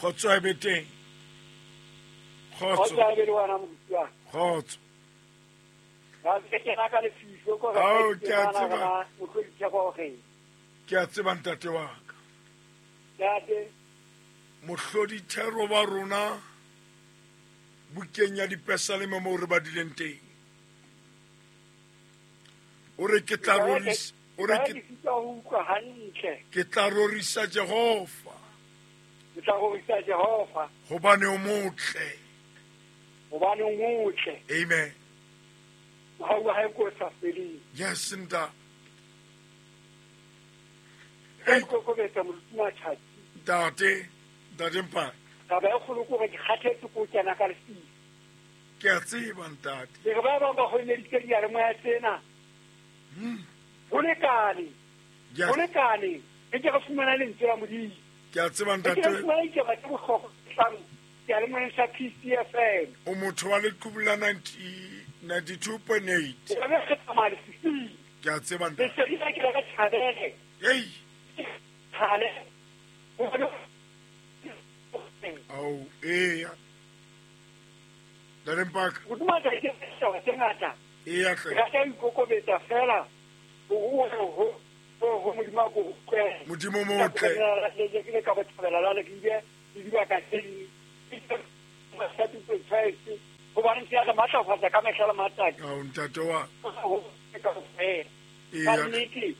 Kgotso e be teng. Kgotso. Kgotso e be le wena moruti wa. Kgotso. Ga ke kena ka lefiso ko Ao, ke a tseba. Mohlodi Theko o reng. Ke a tseba ntate wa ka. Ntate. Mohlodi thero wa rona bukeng ya dipesaleme moo re badileng teng. O re ke tla rorisa, o re ke sitwa ho utlwa hantle. Ke tla rorisa Jehova. Ke tla rorisa Jehova. Hobane o motle. Hobane o motle. Amen. Mohau wa hae ke o sa feleng. Yes, ntate. Ka ikokobetsa moruti Matjhatsi. Ntate, ntate Mpane. Taba e kgolo ke hore ke kgathetse ke ho kena ka lefifi. Ke a tseba ntate. Ke re ba bang ba hweleditse diyalemoya tsena. Ho lekane. Yes. Ho lekane. Re ke re fumana lentswe la Modimo. Ke a tseba Re ke re ntate. fumana ditaba tse bohlokwa tse tlang seyalemoyeng sa PCFM. O motho wa leqhubu la 90 92.8. Re be re tsamaya lefifing. Ke a tseba ntate. Lesedi la ke la ka tjhabele. Ei. Tshale. Ao, eya. Ntate Mpaka. Modimo a tla ke ditaba tse ngata. Eya hle. Re rata ho ikokobetsa fela. Ho ho ho ho Modimo a ko utlwe. Modimo o motle. Le ke ka bothabela la le ke ile le dibaka tse ding. Hobane se ya re matlafatsa ka mehla le matsatsi. Ao ntate wa. Kaofela. Eya. Ka nnete,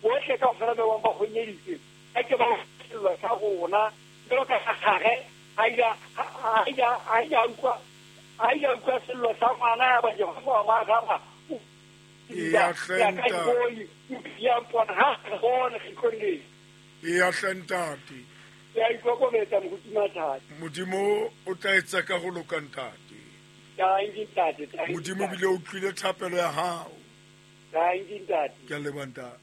bohle kaofela ba bang ba honyeditse. Ha ke ba sello sa rona. Jwalo ka Gare, ha ile ha ile ha ile a utlwa ha ile a utlwa sello sa ngwana ya ba Jehova wa mo araba. Eya hle Ya ka ntate. boi, ya mpona ha re bone kgetlong lena. Eya hle ntate. Ke a ikokobetsa moruti Mathata. Modimo o tla etsa ka ho loka ntate. Thank you, ntate. Thank you, Modimo ntate. bile o utlwile thapelo ya hao. Thank you, ntate. Ke a leboha ntate.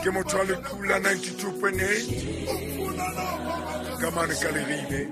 Ke motho wa leqhubu la 92.8 ka mane ka Leribe.